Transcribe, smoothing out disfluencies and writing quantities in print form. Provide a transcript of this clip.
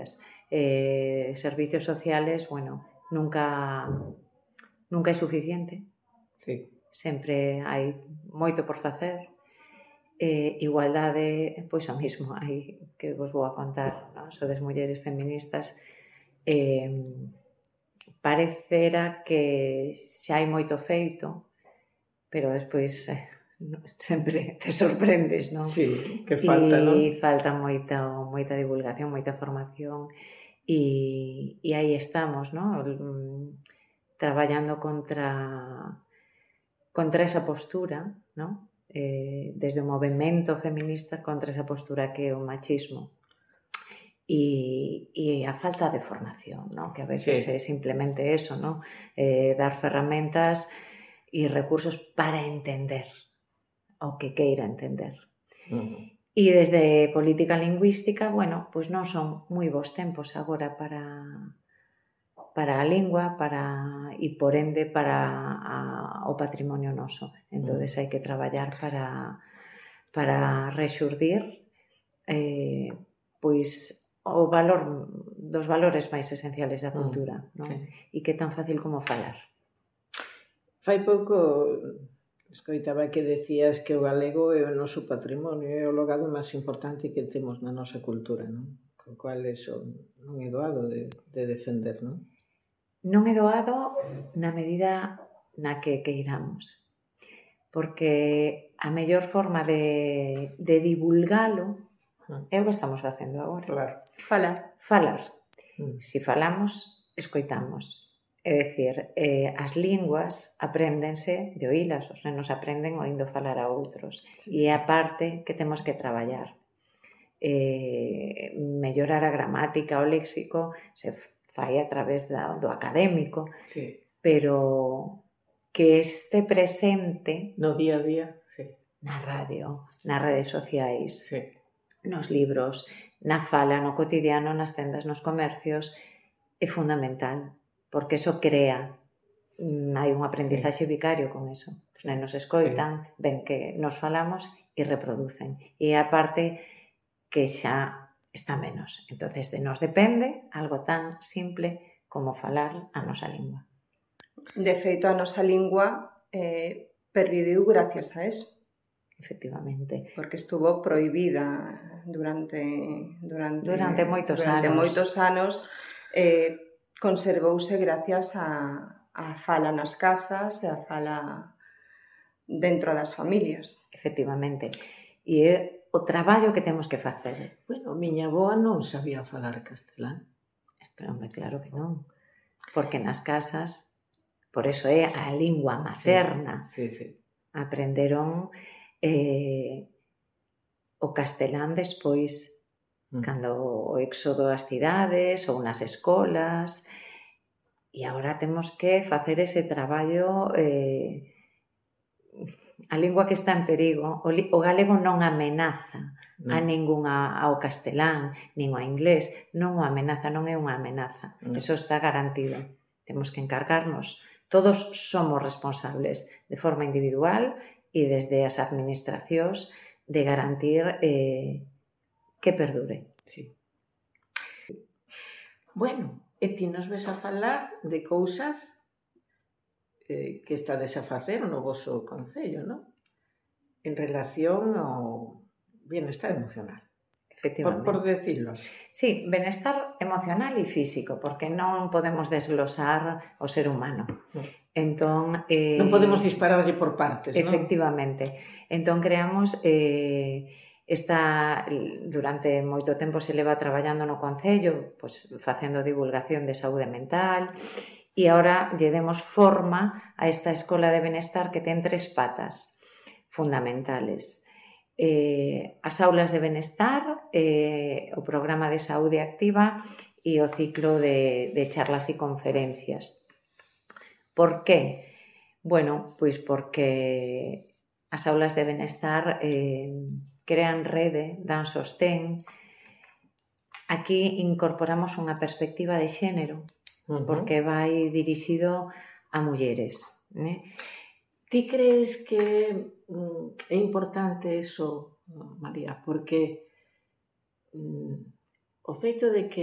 familias. Servicios sociales, bueno, nunca é suficiente. Sí. Sempre hai moito por facer. Igualdade, pois o mismo, hai que vos vou a contar, non? Sodes mulleres feministas, parecera que xa hai moito feito, pero despois sempre te sorprendes, non? Sí, que falta, non? E falta moita divulgación, moita formación, e aí estamos, non? Traballando contra esa postura, non? Desde o movemento feminista contra esa postura que é o machismo e a falta de formación, non? Que a veces é simplemente eso, non? Dar ferramentas e recursos para entender o que queira entender. E desde política lingüística, bueno, pois non son moi bons tempos agora para a lingua e por ende para o patrimonio noso. Entonces hai que traballar para rexurdir pois o valor dos valores máis esenciales da cultura, non? E que é tan fácil como falar. Fai pouco escoitaba que decías que o galego é o noso patrimonio, é o logado máis importante que temos na nosa cultura, non? Co cual eso non é doado de defender, non? Non é doado na medida na que queiramos, porque a mellor forma de divulgalo é o que estamos facendo agora. Claro. Falar. Si falamos, escoitamos. É dicir, as linguas apréndense de oílas, os nenos aprenden oindo falar a outros. E é a parte que temos que traballar. Mellorar a gramática, o léxico, se fai a través do académico, pero que este presente no día a día, na radio, nas redes sociais, nos libros, na fala, no cotidiano, nas tendas, nos comercios, é fundamental, porque eso crea, hai un aprendizaxe vicario con eso. Os nenos escoitan, ven que nos falamos e reproducen. E a parte que xa está menos. Entonces, de nos depende algo tan simple como falar a nosa lingua. De feito, a nosa lingua perviviu gracias a eso. Efectivamente. Porque estuvo prohibida durante moitos anos. Conservouse gracias a fala nas casas e a fala dentro das familias. Efectivamente. E é o traballo que temos que facer. Bueno, miña avoa non sabía falar castelán. Claro que non. Porque nas casas, por eso é a lingua materna. Aprenderon o castelán despois, cando o éxodo ás cidades ou nas escolas, e agora temos que facer ese traballo. A lingua que está en perigo, o galego non amenaza a ningunha ao castelán, nin ao inglés, non o amenaza, non é unha amenaza. Eso está garantido. Temos que encargarnos. Todos somos responsables de forma individual e desde as administracións de garantir que perdure. Bueno, e ti nos ves a falar de cousas que estades a facer no voso concello, non? En relación ao bienestar emocional. Efectivamente. Por decirlo así. Sí, bienestar emocional e físico, porque non podemos desglosar o ser humano. Entón, non podemos dispararlle por partes, non? Efectivamente. Entón, creamos durante moito tempo se leva traballando no concello, pois facendo divulgación de saúde mental, e agora lle demos forma a esta escola de benestar que ten 3 patas fundamentales. As aulas de benestar, o programa de saúde activa e o ciclo de charlas e conferencias. Por qué? Bueno, pois porque as aulas de benestar crean rede, dan sostén. Aquí incorporamos unha perspectiva de xénero, porque vai dirixido a mulleres. Ti crees que é importante eso, María? Porque o feito de que